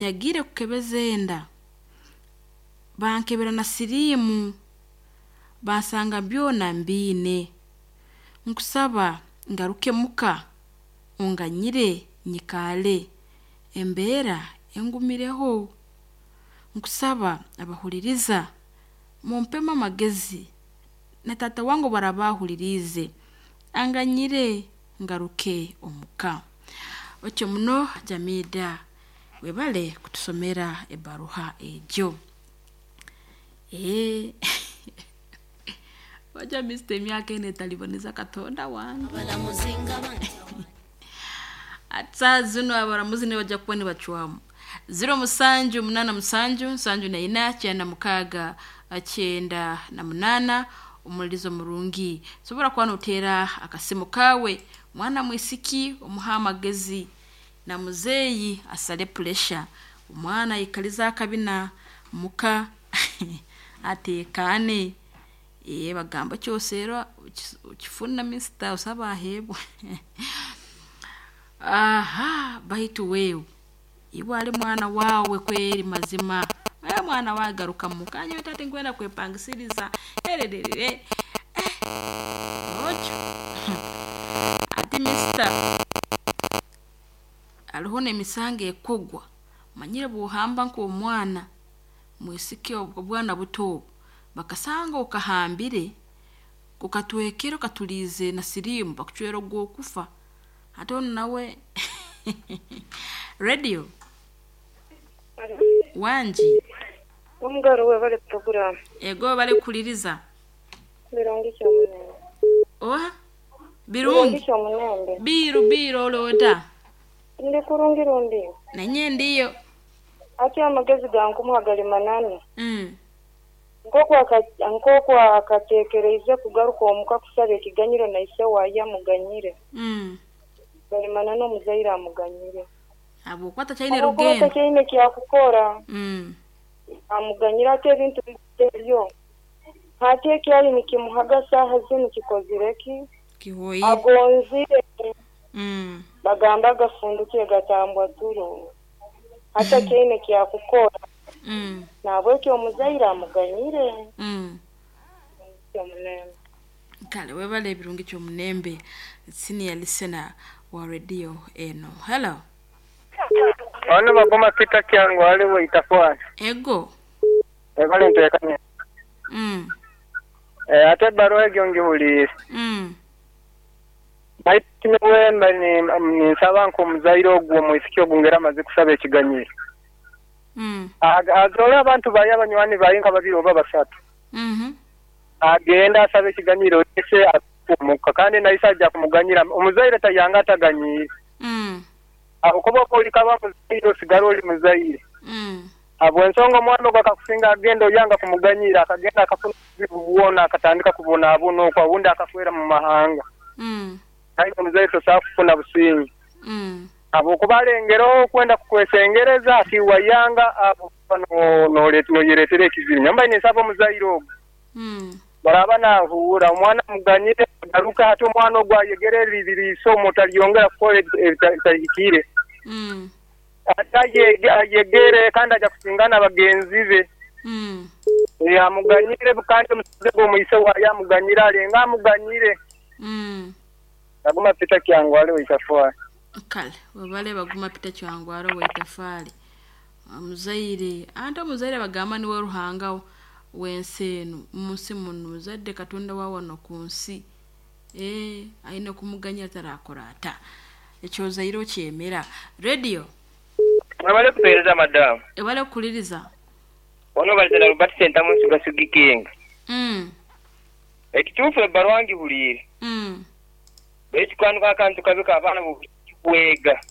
Nyagiire kukebeza enda, bankebera na siriimu, bansanga byona mbiine. Nkusaba ngaruke muka onganyire nyikaale, embeera engumireho. Nkusaba abahuririza mumpemu amagezi na taata wange obu araba ahuririize anganyire ngaruke omuka. Otyo muno Jamidah webale kutusomera ebaruha egyo. Eeh wajua Mister emyaka enu etariboneza Katonda wange. Hati saaha zinu abaramuzi nibaija kuba nibacwamu. 0787 74 98 omuririzo murungi. Sobora kuba noteera akasimu kaawe mwana mwisiki omuhe amagezi na muzeeyi asale puresha. Omwana aikalize akabina muka ateekaane. Ee bagamba ekyoseera okifuna mister osaba aheebwa. Aha baitu wewe iwe ali mwana waawe kweri mazima, mwana waawe garuka muka nyowe taata tinkwenda kwepangisiriza ererere otyo hati mister hariho n'emisango ekogwa omanyire bw'ohamba nk'omwana mwisiki obwana buto obu, bakasanga okahambire, okatwekere okatuliize na siriimu bakucwera ogw'okufa. Hati onu nawe radio wangi. Omugaro webale puroguramu. Ego webale kuhuririza. Birungi kyomunembe. Oha? Birungi Birungi. kyomunembe. Biiru biiru oloota. Ndi kurungi rundi. Nanye ndiyo. Ati amagezi gankumuha gali mananu. Nk'oku akateekereize kugaruka omuka kusaba ekiganyiro na ise waaye amuganyire. Gali mananu omuzaire amuganyire. Habwokuba takyaine Habwokuba rugendo. takyaine kyakukora. Amuganyire ati ebintu ebyo. Hati ekyali nikimuhaga saaha zinu kikozire ki? Kihoire. Agonzire. Bagamba agafundukire gatambwa turo. Hati takyaine kyakukora. Nahabwekyo omuzaire amuganyire. Kyomunembe. Kale webale ebirungi kyomunembe senior listener wa radio eno. Hello. Ono Baguma Peter Kyangu ali Waitafwani. Ego. Webale ntekania. Ate ebbaluwa egyo ngihuliire. Baitu nyowe mba ninsaba nk'omuzaire ogwo omwisiki ogu ngera amaze kusaba ekiganyiro. Azoole abantu baye abanywani baye nka babiri oba basatu. Agende asabe ekiganyiro ise omuka kandi na ise aja kumuganyira. Omuzaire tayanga ataganyiire. Ahabwokuba oba oli kaba muzaire osigara oli muzaire. Habw'ensonga omwana ogwo akakusinga agenda oyanga kumuganyira akagenda akafuna obuzibu bwona akatandika kubonabona okwo obundi akafeera mu mahanga. Aye omuzaire tosobola kufuna businge. Habwokuba alengereho okwenda kukwesengereza ati wayanga abo noyereetera ekizibu. Nyowe mbaire ninsaba omuzaire ogwo bw'araaba naahuura omwana amuganyire agaruke hati omwana ogwo ayegere eryo isomo talyongera kukora ebitahikire. Ate ayegere kandi aja kusingana bagenzi be. Amuganyire kandi omusaija ogwo omwise waayo amuganyire alenga amuganyire. Baguma Peter Kyangwali Waitafwali. Kale webale Baguma Peter Kyangwali Waitafwali. Omuzaire anti omuzaire bagamba niwe Ruhanga w'ensi enu munsi munu muzadde Katonda wa wano ku nsi. Ee aine kumuganyira tarakora ata. Ekyozaire okyemera. Radio. Mwebale kutuweereza madamu. Webale kuhuliriza. Ono balizana Robert Sentamu Nsuga Sugi King. Ekituufu ebbaluwa ngihuliire. Baitu kanu akantu kabi k'abaana b'obwishiki kwega.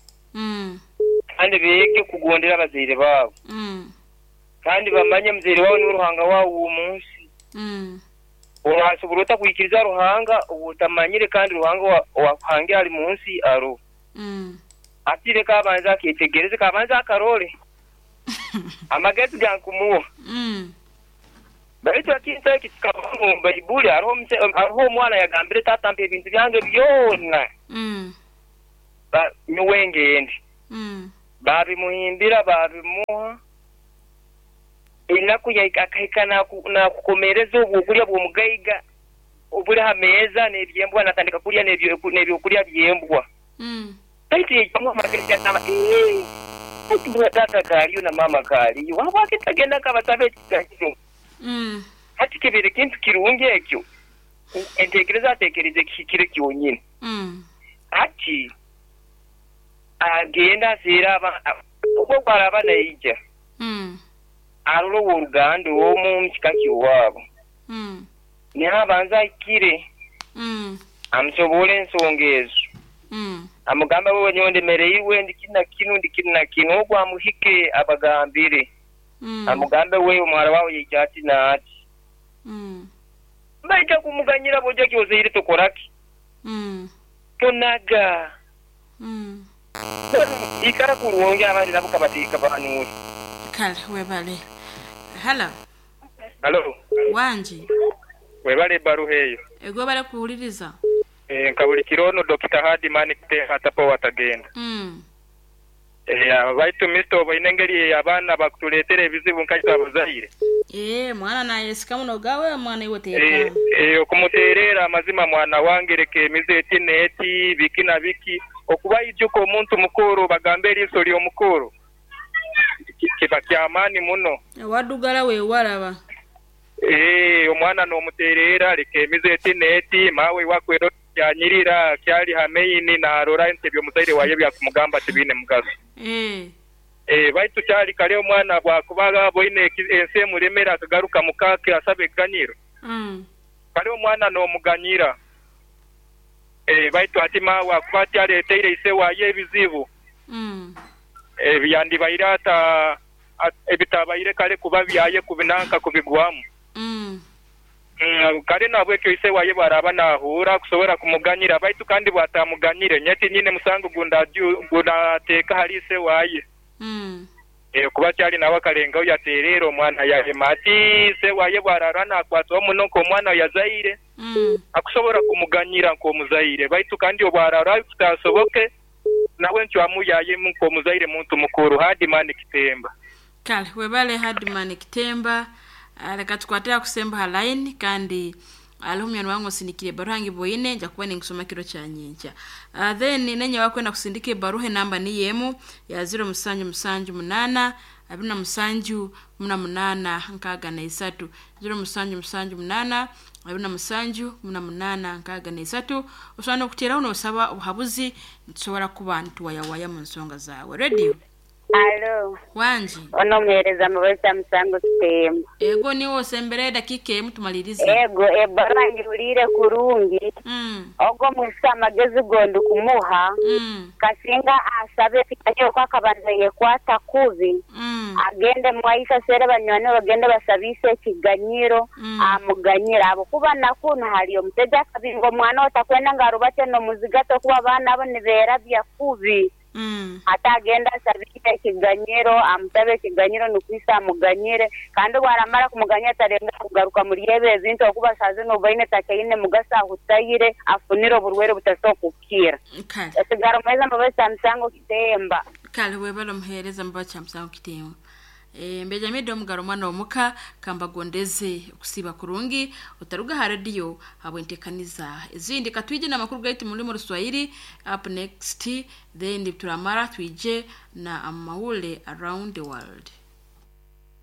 Kandi beege kugondera abazaire baabo. Kandi bamanye muzaire waabo niwe Ruhanga waabo ow'omu nsi. Orasobora ota kwikiriza Ruhanga ou otamanyire kandi Ruhanga owakuhangire ali mu nsi aroho? Hati leka abanze aketegereze, k'abanze akarole. Amagezi ga nkumuha. Baitu ekintu eki kikabaho omu Baibuli, haroho omwana yagambire taata mpa ebintu byange byona nyowe ngende. Baabimuhimbira baabimuha. Enaku yahika akahika naakukomeereza obwokurya bw'omugaiga oburi ha meeza n'eby'embwa naatandika kurya n'ebyokurya by'embwa. Baitu yaijamu amagezi yagamba, Ii, baitu mbwenu taata kaariyo na maama kaariyo, habwaki ntagenda nkabasaba ekiganyiro? Hati kibaire kintu kirungi ekyo? Enteekereza ateekereize kihikire kyonyini. Hati agende aseere obu ogu araaba naija, arole ow'oruganda omu omu kika ky'owaabo, niho abanze ahikire, amusoboore ensonga ezo, amugambe wewe nyowe ndemereirwe, ndi kinu na kinu, ndi kinu na kinu, ogu amuhike abagambire, amugambe wewe omuhara waawe yaija ati n'ati. Baija kumuganyira bwoija kyozaire tokora ki? Tonaga. Ikara kurungi abandi nabo kabahanuure. Kale webale. Hallo. Hallo. Wangi. Webale ebaruha eyo. Ego webale kuhuliriza. Eeh nka buli kiro ono Dokita Hardman Kiteha atapowa atagenda. Eeh baitu Mister oboine engeri abaana bakutuletera ebizibu nka itwe abazaire. Eeh mwana nayesika muno gawe mwana iwe tekana. Eeh okumutereera amazima mwana wange leka emize eti n'eti biki na biki okuba ijuka omuntu mukuru bagamba eriiso ly'omukuru kiba kyamaani muno. Wadugala wewalaba. Eeh omwana nomutereera leka emize eti n'eti maawe iwe Yanyirira kyali ha maini naarora nti eby'omuzaire waye byakumugamba tibiine mugaso. Ee, baitu kyali kare omwana bwakuba aboine ensi emuremere akagaruka muka ke asaba ekiganyiro. Kare omwana n'omuganyira. Ee, baitu ati maawe akuba ati areteire ise waye ebizibu ebi yandibaire ata, ebitabaire kare kuba byaye kubinanka kubigwamu. Kale nahabwekyo ise waye bw'araaba naahuura, kusobora kumuganyira. Baitu kandi bw'ataamuganyire, nyowe tinyine musango gu ndaateeka hali ise waye. Kuba kyali nawe akalengaho yateereera omwana yahema ati, ise waye bw'araarora naakwatwaho muno nk'omwana ou yazaire, akusobora kumuganyira nk'omuzaire. Baitu kandi obw'araarora kitaasoboke, nawe encwamu yaye nk'omuzaire muntu mukuru. Hardman Kitemba. Kale webale Hardman Kitemba. Leka tukwate akusemba ha line kandi aliho munywani wange osindikire ebaruha ngiboine nja kuba ningisoma kiro kya nyenkya. Then nenye wakwenda kusindika ebaruha enamba niyo emu ya ziro musanju musanju munana abiri na musanju kumi na munana nkaaga na isatu. 0778 27 18 63. Osobola n'okuteeraho n'osaba obuhabuzi nitusobora kuba nituwayawaya mu nsonga zaawe. Radio. Alo. Wangi. Ono omuheereza Mubaisa Musango Kitembo. Ego niiwe osembereyo edakiika emu tumalirize. Ego ebbaruha ngihuliire kurungi. Ogu omwisiki amagezi go ndikumuha, kasinga asabe ekiganyiro oku akabanza yekwata kubi, agende mwaise aseere banywani be bagende basabe ise ekiganyiro amuganyire ahabw'okuba na kunu hariyo omusaija akabinga omwana we otakwenda ngu arubate n'omuzigati okuba abaana abo nibeerabya kubi. Ate agende asabe ise ekiganyiro, amusabe ekiganyiro nukwo ise amuganyire. Kandi obu aramara kumuganyira talengaho kugaruka omuri ebyo ebintu ahabw'okuba shaaha zinu obu aine takyaine mugaso ahutaire, afunire oburwaire obutasobora kukira. Kale. Esigara omuheereza Mbabazi Kyamusango Kitemba. Kale webale omuheereza Mbabazi Kyamusango Kitemba. Mbeja Omugaro omwana w'omuka, kambagondeze okusiiba kurungi, otaruga ha rediyo habw'enteekaniza ezindi. Katwije n'amakuru gaitu mu rulimi Oruswahili up next, then turamara twije na amawulire around the world.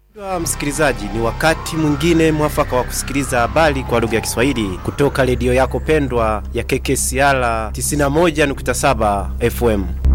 Mpendwa msikilizaji, ni wakati mwingine mwafaka wa kusikiliza habari kwa lugha ya Kiswahili kutoka redio yako pendwa ya KKCR 91.7 FM.